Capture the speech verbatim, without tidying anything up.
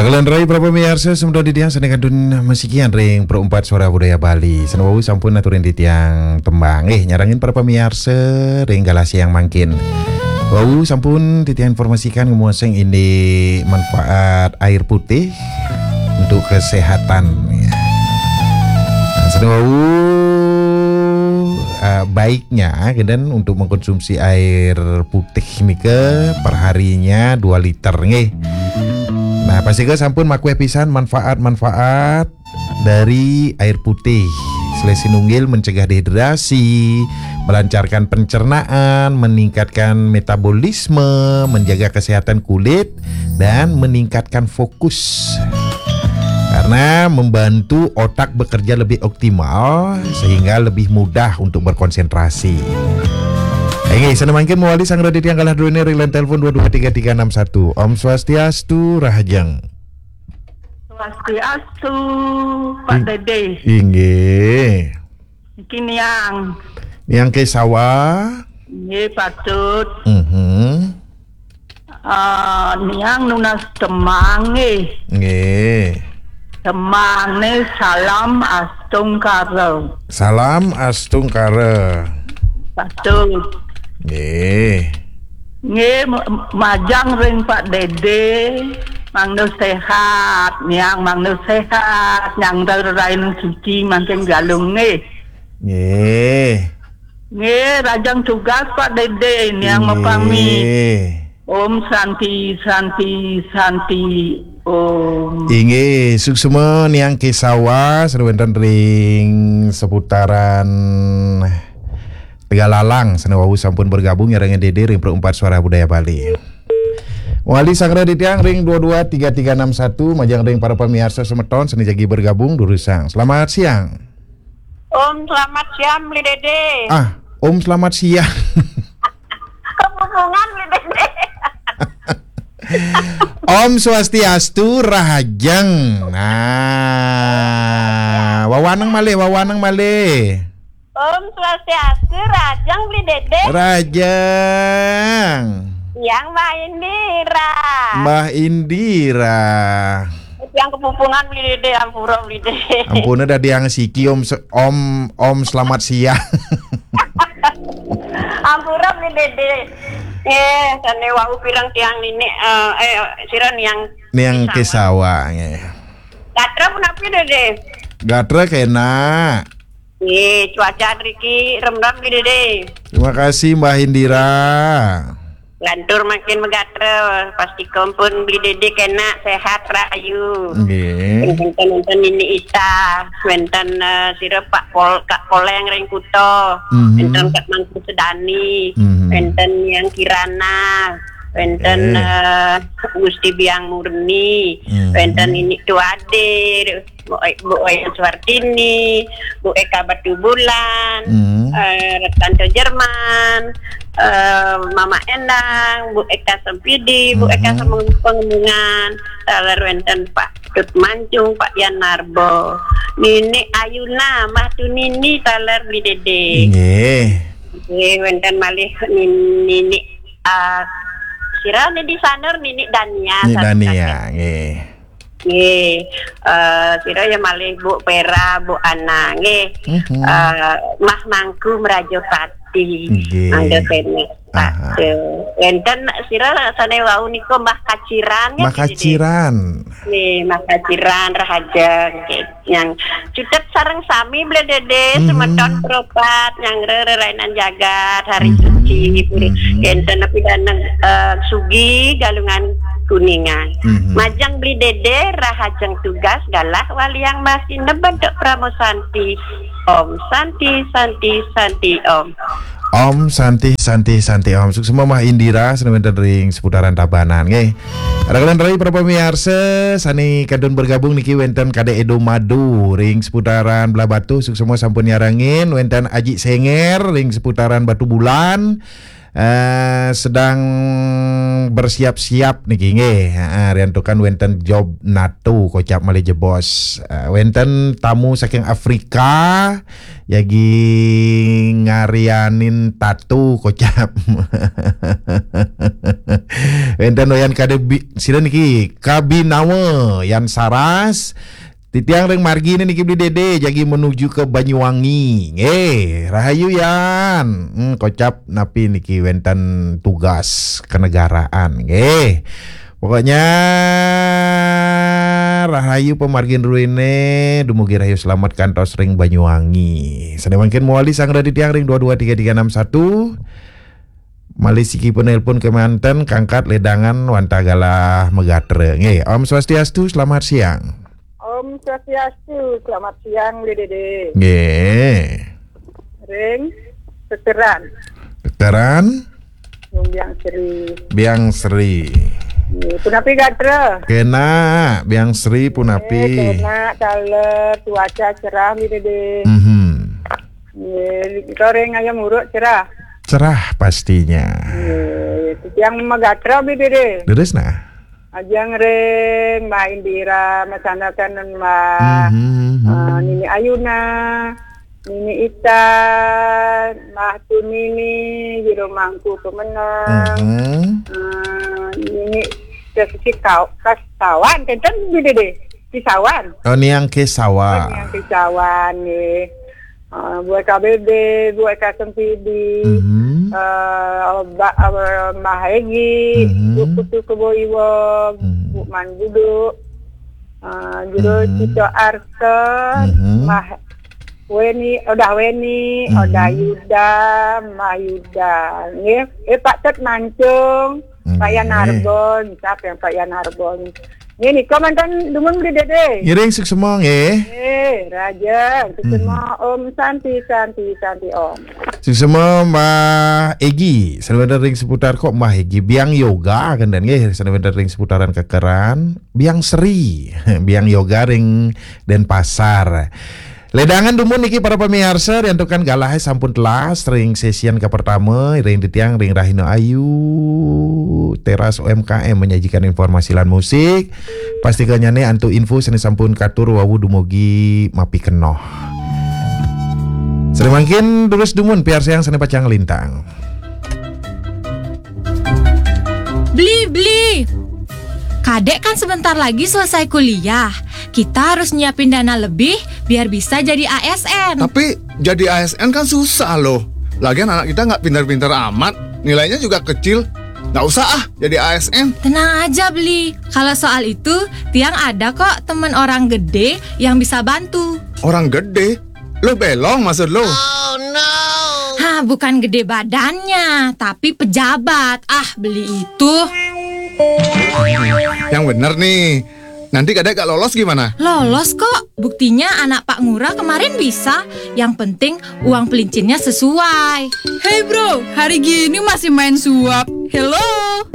Kalian rai para pamiarsa, semeton titiang sané kantun masikian ring Pro Empat Suara Budaya Bali. Sané wau sampun aturin titiang tembang. Eh, nyarengin para pamiarsa ring galah siang mangkin. Wau sampun titiang informasikan ngemaosang indik manfaat air putih untuk kesehatan. Ya. Nah, sané wau, eh, baiknya, kénten untuk mengkonsumsi air putih nika perharinya dua liter, nggih. Nah, pastika sampun makuéh pisan manfaat-manfaat dari air putih. Selain sinunggil mencegah dehidrasi, melancarkan pencernaan, meningkatkan metabolisme, menjaga kesehatan kulit, dan meningkatkan fokus. Karena membantu otak bekerja lebih optimal sehingga lebih mudah untuk berkonsentrasi. Inggih, sané mangkin mawali sang raditya galah druéné ring line telepon dua dua tiga tiga enam satu. Om Swastiastu, Rahajeng. Swastiastu, Pak Ing- Dede. Inggih. Niki Niang. Niang Kesawa. Nggih, patut. Mhm. Ah, Niang nunas tembang nggih. Nggih. Tembangné Salam Astungkara. Salam Astungkara. Patut. Nggih. Nggih, ma-, majeng ring Pak Dede, mangda séhat, Niang mangda séhat, nyangga rerain suci mangkin Galung nggih. Nggih. Nggih, rahajeng tugas Pak Dede, Niang mapamit. Nggih. Om Santi, Santi, Santi, Om. Inggih, suksma Niang Kesawa, sané wénten ring seputaran Tegalalang, sané wau sampun bergabung nyarengin Dede ring Pro Empat Suara Budaya Bali. Wali Sanggra Ditiang ring dua dua tiga tiga enam satu, majeng ring para pamiarsa semeton sané jagi bergabung durusang. Selamat siang. Om, selamat siang, Bli Dede. Ah, Om, selamat siang. Kepupungan, Bli Dede. Om Swastiastu, Rahajeng. Nah, wawaneng malih, wawaneng malih. Om Swastiastu, Rahajeng, Bli Dede. Rahajeng. Yang Mbah Indira. Mbah Indira. Yang kepupungan, Bli Dede, ampura, Bli Dede. Ampura, dadi yang siki, Om se-, Om, Om, selamat siang. Ampura, Bli Dede. Eh, sané wau pireng tiang nini, eh, eh, sira Niang Niang Kesawa. Kesawa, nggih. Gatra punapi, Dede? Gatra kenak. Nggih, cuaca riki remrem, Bli Dede. Terima kasih, Mbah Indira. Lantur makin magatra, pastika pun Bli Dede kenak, sehat, rahayu. Nggih. Wénten, wénten Nini Ita, wénten, eh, sira Pak Pol-, Kak Poleng ring Kuta, mhm, wénten Kak Mangku Sedani, mhm, wénten Yang Kirana, wénten, eh, eh, Gusti Biang Murni, mhm, wénten Nini Tuade, Bu Oy-, Bu Oyan Suartini, Bu Eka Batubulan, hmm, eh, Retanto Jerman, eh, Mama Endang, Bu Eka Sempidi, Bu Eka, hmm, Semeng-, Pengemungan, taler wénten Pak Tut Mancung, Pak Yan Narbo, Nini Ayuna, Mbah Tunini, taler Bli Dede. Nggih. Nggih, wénten malih Nin-, Nini, ah, sira Nini Sanur, Nini Dania, Nini Dania, nggih. Nggih, eh, sira ya malih Bu Pera, Bu Ana, nggih. Mhm. Eh, Mbah Mangku Mrajapati. Nggih. Mangga kenak. Aha. Wénten sira sané wau nika Mbah Kaciran, nggih, Mbah Kaciran. Nggih, Mbah Kaciran, Rahaja, nggih. Yang cutet sareng sami, Bli Dede, mhm, semeton Pro Empat, nyanggra rerainan jagat, hari, mhm, suci, puri. Mhm. Enten napi danang, eh, sugi, Galungan, Kuningan. Mhm. Majeng Bli Dede, rahajeng tugas, galah waliang masineb bentuk Pramosanti. Om Santi, Santi, Santi, Om. Om Santi, Santi, Santi, Om. Suksma Mbah Indira, sané wénten ring seputaran Tabanan, nggih. Rakalan rai para pamiarsa, sané kantun bergabung niki wénten Kadek Edo Madu ring seputaran Blahbatuh, suksma sampun nyarengin, wénten Aji Senger ring seputaran Batubulan, Eh, sedang bersiap-siap niki nggih. Heeh, riantukan wénten job nato kocap malih jebos. Eh, wénten tamu saking Afrika jagi ngarianin tato kocap. Wénten Wayan Kadebi, sira niki Kabinawa Yan Saras. Titiang ring margi niki Bli Dede jagi menuju ke Banyuwangi. Nggih, rahayu Yan. Hmm, kocap napi niki wénten tugas kenegaraan. Nggih. Pokoknya rahayu pamargin ruine, dumugi rahayu selamat kantos ring Banyuwangi. Sane mangkin mawali sang raditya ring dua dua tiga tiga enam satu. Malih siki penelpon kemanten kangkat ledangan wantah galah magatra. Nggih, Om Swastiastu, selamat siang. Om Swastiastu, selamat siang, Bli Dede. Nggih. Ring Kekeran. Kekeran. Ring Biang Sri. Biang Sri. Nggih, punapi gatra? Kena, Biang Sri punapi? Eh, kena, taler, cuaca cerah, Bli Dede. Mhm. Nggih, ring ayam uruk cerah. Cerah pastinya. Nggih, tiang magatra, Bli Dede. Leres nah. Ajeng ring Mbah Indira, masandekan Mbah, Mhm, mhm. eh, Nini Ayuna, Nini Ita, Mbah Tunini, Jero Mangku Pemenang, Mhm. eh, Nini Sesi Kau-, Kastawan, kenten Bli Dede, Kisawan. Oh, Niang Kisawan. Oh, Niang Kisawan, nggih. Eh, Bu K B B, Bu K Sempidi, Mhm. eh, Ba-, eh, Mbah Egi, Mhm. Bu Putu Kebo Iwong, Mhm. Bu Man Budu, eh, Jero Mhm. Cito Arsa, Mhm. Mbah Weni, Odah Weni, Mhm. Odah Yuda, Mbah Yuda, nggih. Eh, Pak Tet Mancung, Pak Yan Nggih. Arbon, siapa yang Pak Yan Arbon? Nggih, nika mantan dumun Bli Dede. Ngiring suksema nggih. Eh, raja, suksema Mhm. Om Santi, Santi, Santi Om. Suksema Mbah Egi, sane wénten ring seputar kok Mbah Egi, Biang Yoga kenten nggih, sane wénten ring seputaran Kekeran, Biang Sri, Biang Yoga ring Denpasar. Ledangan dumun niki para pamiarsa, riantukan galahe sampun telas ring sesian kapertama, ring titiang ring Rahina Ayu, Teras U M K M menyajikan informasi lan musik. Pastikanyane antuk info sane sampun katur wau dumugi mapikenoh. Sane mangkin durus dumun piarsayang sane pacang lintang. Bli, Bli. Kadek kan sebentar lagi selesai kuliah. Kita harus nyiapin dana lebih biar bisa jadi A S N. Tapi jadi A S N kan susah loh. Lagian anak kita nggak pintar-pintar amat. Nilainya juga kecil. Nggak usah ah jadi A S N. Tenang aja, Bli. Kalau soal itu, tiang ada kok temen orang gede yang bisa bantu. Orang gede? Lo belong maksud lo? Hah, bukan gede badannya, tapi pejabat. Ah, Bli itu. Yang bener nih. Nanti kadek gak lolos gimana? Lolos kok. Buktinya anak Pak Ngurah kemarin bisa. Yang penting uang pelincinnya sesuai. Hey bro, hari gini masih main suap. Hello.